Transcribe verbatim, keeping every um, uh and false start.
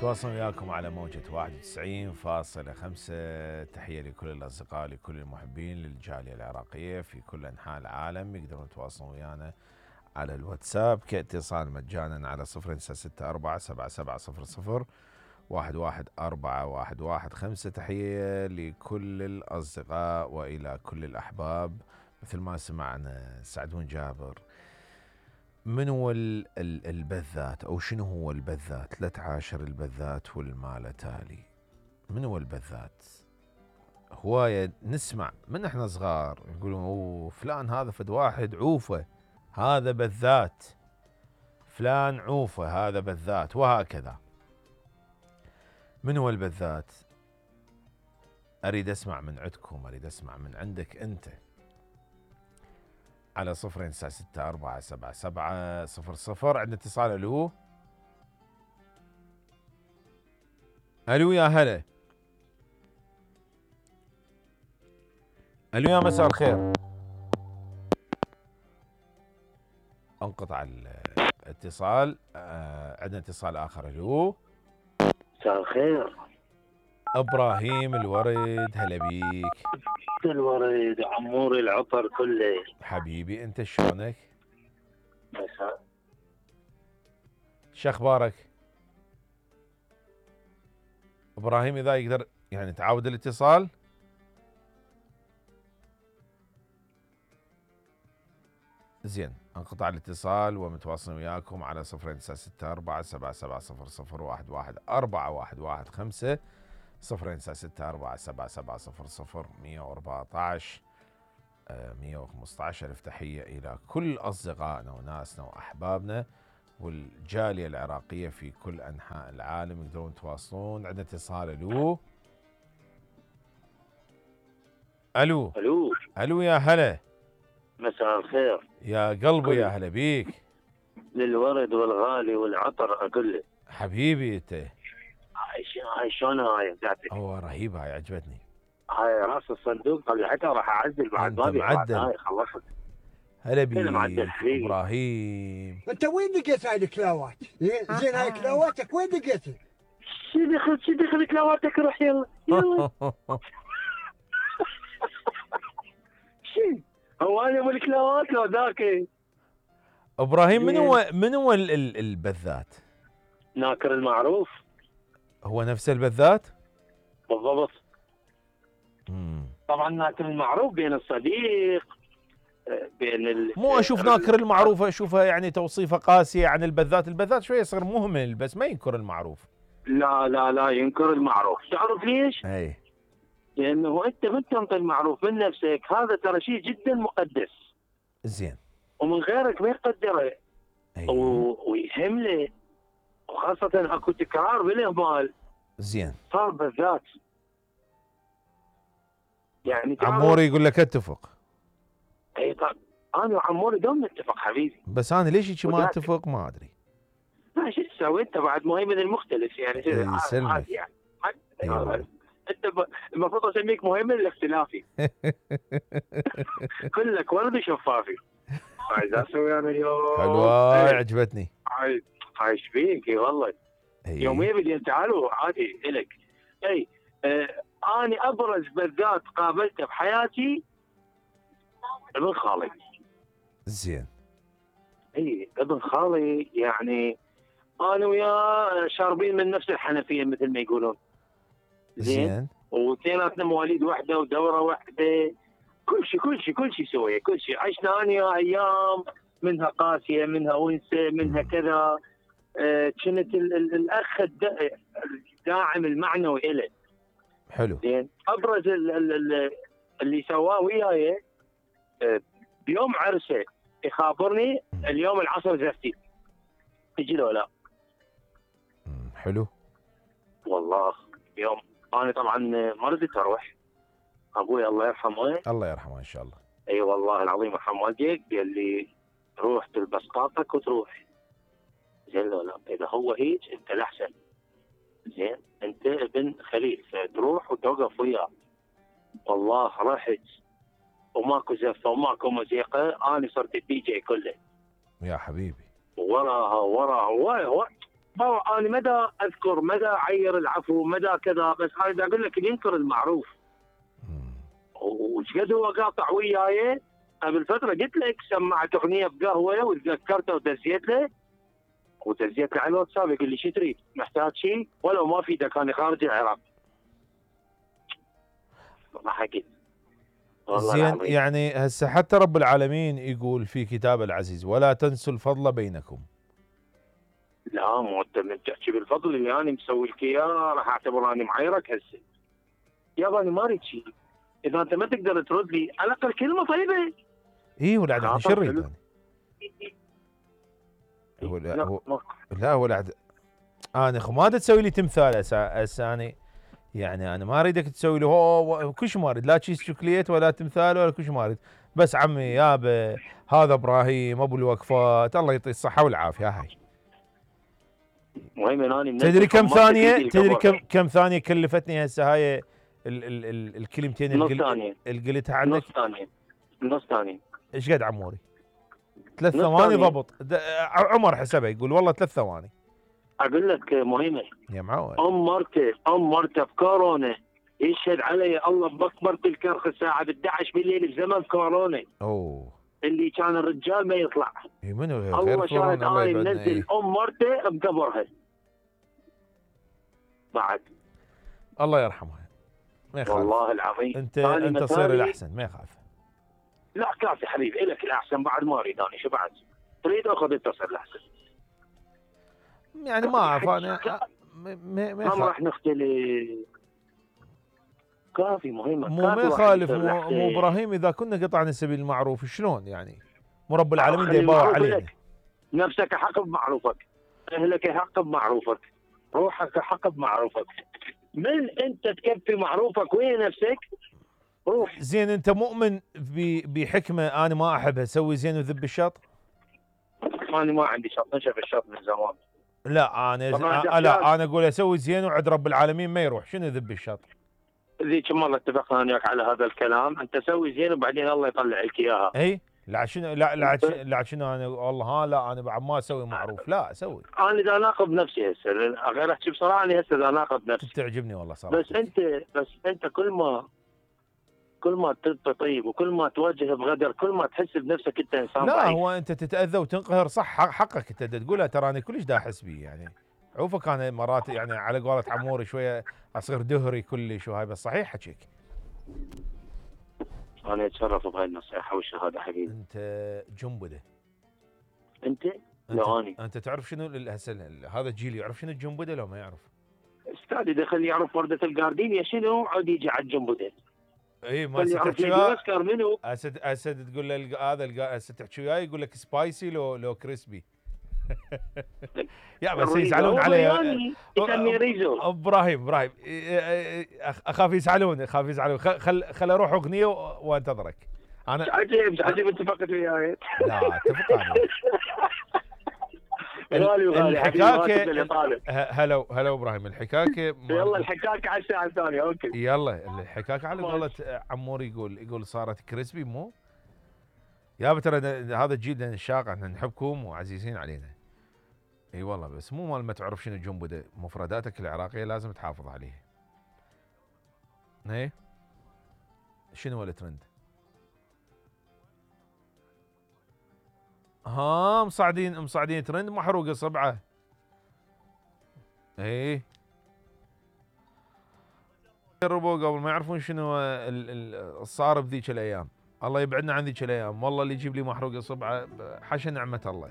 تواصل وياكم على موجة واحد وتسعين فاصلة خمسة. تحية لكل الأصدقاء، لكل المحبين للجالية العراقية في كل أنحاء العالم. يقدرون يتواصلون ويانا على الواتساب كاتصال مجانا على صفر ستة أربعة سبعة سبعة صفر صفر واحد واحد أربعة واحد واحد خمسة. تحية لكل الأصدقاء وإلى كل الأحباب. مثل ما سمعنا سعدون جابر، من هو البذات أو شنو هو البذات؟ لا تعاشر البذات والمال تالي. من هو البذات؟ هواية نسمع من احنا صغار يقولون اوه فلان هذا فد واحد عوفة هذا بذات، فلان عوفة هذا بذات، وهكذا. من هو البذات؟ أريد أسمع من عندكم، أريد أسمع من عندك أنت على صفر تسعة ستة أربعة سبعة سبعة صفر صفر. عندنا اتصال. ألو ألو يا هلا. ألو يا مساء الخير. انقطع الاتصال. آه عندنا اتصال آخر. ألو مساء الخير. إبراهيم الورد، هلا بيك. الورد عمور العطر كله حبيبي، أنت شلونك؟ مساء. شخبارك إبراهيم؟ إذا يقدر يعني تعاود الاتصال. زين، انقطع الاتصال ومتواصلين وياكم على صفر تسعة ستة أربعة سبعة سبعة صفر صفر واحد واحد أربعة واحد واحد خمسة صفر تسعة ستة أربعة سبعة سبعة صفر صفر مية وأربعة عشر مية وخمسة عشر. ألف تحية إلى كل أصدقائنا وناسنا وأحبابنا والجالية العراقية في كل أنحاء العالم. يقدرون يتواصلون. عندنا اتصال. ألو ألو ألو ألو يا هلا. مساء الخير يا قلبي، يا هلا بيك. للورد والغالي والعطر كله حبيبي أنت. هاي شلون هاي بتاعتك؟ هو رهيب، هاي عجبتني. هاي راس الصندوق طلعتها راح اعدل بعد ما معدل. هاي خلصت. هلا بيك ابراهيم. انت وين لقيت هاي الكلاوات؟ زين هاي كلاواتك وين لقيتها؟ شو دخل شو دخل كلاواتك؟ روح يلا يلا. شو هو انا ابو الكلاوات لو ذاك؟ ابراهيم، من هو من هو البذات؟ ناكر المعروف. هو نفس البذات بالضبط. مم. طبعا ناكر المعروف بين الصديق، بين ال... مو اشوف ناكر المعروف اشوفها يعني توصيفه قاسيه عن البذات. البذات شويه يصير مهمل بس ما ينكر المعروف. لا لا لا ينكر المعروف. تعرف ليش؟ اي لانه انت من تنطي المعروف من نفسك، هذا ترى شيء جدا مقدس. زين. ومن غيرك ما يقدره. أيه. و... ويهمله، وخاصه اكو تكرار بالاهمال. زين. صار بذات. يعني عموري يقول لك اتفق. اي طب انا وعموري دوم نتفق حبيبي. بس انا ليش هيك ما اتفق ما ادري. لا شو تسوي انت بعد مهيمن المختلف يعني. يسلمك. يعني أيوة. انت ب... المفروض اسميك مهيمن الاختلافي. كلك ورد شفافي. عايز اسوي انا اليوم. حلوه عجبتني. عايز عايش فيك اي والله. أيه. يوميا بدي تعالوا عادي الك. اي آه اني ابرز بذات قابلته بحياتي ابن خالي. زين. اي ابن خالي يعني انا وياه شاربين من نفس الحنفيه مثل ما يقولون. زين. واثنيناتنا مواليد واحده ودوره واحده. كل شيء كل شيء كل شيء سويه كل شيء. عشنا انا ايام منها قاسيه منها ونسه منها كذا. آه كنت الاخ الداعم المعنوي له. حلو. زين. ابرز ال ال اللي سواه وياي آه بيوم عرسه يخابرني اليوم العصر زفتي تجي له لا. حلو. والله يوم انا طبعا ما رضيت اروح. ابوي الله يرحمه. الله يرحمه ان شاء الله. اي أيوة والله العظيم يرحم والديك. قال لي روح تلبس طاقتك وتروح. زين لا لا اذا هو هيك انت الاحسن. زين انت ابن خليل فتروح وتوقف وياه. والله رحت وماكو زفه وماكو موسيقى. انا صرت الدي جي كله يا حبيبي. وراها وراها. بابا انا مدى اذكر مدى عير العفو مدى كذا، بس انا دا اقول لك اللي ينكر المعروف. وش قد هو قاطع وياي قبل فتره، قلت لك سمعت اغنيه بقهوه وتذكرته ودزيت له ودزيت له على الواتساب، يقول لي شو تريد؟ محتاج شيء؟ ولو ما في، كان خارج العراق. ما حكيت زين العظيم. يعني هسه حتى رب العالمين يقول في كتابه العزيز ولا تنسوا الفضل بينكم. لا مو انت من تحكي بالفضل اللي انا مسوي لك اياه راح اعتبر اني معايرك هسه. يابا انا ما اريد شيء، اذا انت ما تقدر ترد لي على الاقل كلمه طيبه. اي ولا عاد شو نريد حلو. يعني؟ هو لا لا هو ما- لا ولا عاد انا خو ما تسوي لي تمثال هسه هسه انا يعني انا ما اريدك تسوي لي هو كل شيء ما اريد، لا تشيز شوكليت ولا تمثال ولا كل شيء ما اريد، بس عمي يابا هذا ابراهيم ابو الوقفات الله يعطيه الصحه والعافيه هاي. المهم اني تدري كم حمارتك ثانيه يجي تدري الكبر. كم كم ثانيه كلفتني هسه هاي ال ال ال الكلمتين نص القل- ثانيه اللي قلتها عنك؟ نص ثانيه نص ثانيه ايش قد عموري؟ ثلاث نص ثواني ثانية. ضبط. د- عمر حسبها يقول والله ثلاث ثواني اقول لك مهمه. يا معود. ام مرته ام مرته بكورونا يشهد علي الله باكبر الكرخ الساعه احد عشر بالليل بزمن كورونا، اوه اللي كان الرجال ما يطلع. إي منو غير الله غير شاهد كورونا الله انا يبعدنا. منزل إيه. ام مرته بقبرها بعد. الله يرحمها ما يخالف. والله العظيم انت أنا انت مثالي- تصير الاحسن ما يخالف. لا كافي حبيبي الك الاحسن بعد ما اريد انا شو بعد تريد اخذ انت تصير الاحسن. يعني ما اعرف انا ما ما ما ما يخالف. راح نختلف. كافي مهمه مو كافي ما واحد يخالف يصير مو, الأحسن. مو ابراهيم اذا كنا قطعنا سبيل المعروف شلون يعني؟ مو رب العالمين خلي دا يباوع المعروف علينا. لك. نفسك حق بمعروفك، اهلك حق بمعروفك، روحك حق بمعروفك. من انت تكفي معروفك وين نفسك روح. زين انت مؤمن ب- بحكمه انا ما احبها سوي زين وذب الشط؟ انا ما عندي شط، نشف الشط من زمان. لا انا طبعاً ز... ده لا خيال. انا اقول اسوي زين وعد رب العالمين ما يروح، شنو ذب الشط؟ ذيك المره اتفقنا انا وياك على هذا الكلام، انت سوي زين وبعدين الله يطلع لك اياها. اي لا شنو لا لا شنو لا شنو انا والله ها لا انا بعد ما اسوي معروف لا اسوي. انا اذا اناقض نفسي هسه غير احكي بصراحه، انا هسه اذا اناقض نفسي. تعجبني والله صراحه. بس انت بس انت كل ما كل ما تبقى طيب وكل ما تواجه بغدر كل ما تحس بنفسك انت انسان لا ضعيف. هو انت تتاذى وتنقهر صح حق- حقك انت تقولها ترى انا كلش دا احس بيه يعني. عوفك انا مرات يعني على قولة عموري شويه اصير دهري كلش وهاي بس صحيح حكيك. انا اتشرف بهاي النصيحه والشهاده حبيبي. انت جنبده. انت انت لو اني انت تعرف شنو ال- هسه ال- هذا الجيل يعرف شنو الجنبده لو ما يعرف؟ استاذ دخل يعرف ورده الجاردينيا شنو عاد يجي على الجنب ده. اي ما خلي هسه يعرف تحكي ليدي وياه اوسكار منو. هسه هسه تقول له الق- هذا الق- هسه تحكي وياه يقول لك سبايسي لو لو كريسبي. يا بس يزعلون علي يعني يسمي ريزو. ابراهيم ابراهيم أخ- اخاف يزعلون اخاف يزعلون خل خل, خل اروح اغنيه و- وانتظرك انا. عجيب عجيب اتفقت وياي. لا اتفق انا. غالي وغالي حبيبي الحكاكه اللي طالب. ه- هلا هلا ابراهيم الحكاكه ما- يلا الحكاكه على الساعه الثانيه اوكي. يلا الحكاكه على قولة عمور يقول يقول صارت كريسبي مو يا ترى ن- هذا الجيل الشاق احنا نحبكم وعزيزين علينا. اي والله بس مو مال ما تعرف شنو جنبده مفرداتك العراقيه لازم تحافظ عليها. ايه شنو الترند؟ ها مصعدين مصعدين ترند محروقه صبعه. ايه جربوا قبل ما يعرفون شنو ال- ال- الصار بذيك الايام. الله يبعدنا عن ذيك الايام والله اللي يجيب لي محروقه صبعه حاشا نعمه الله.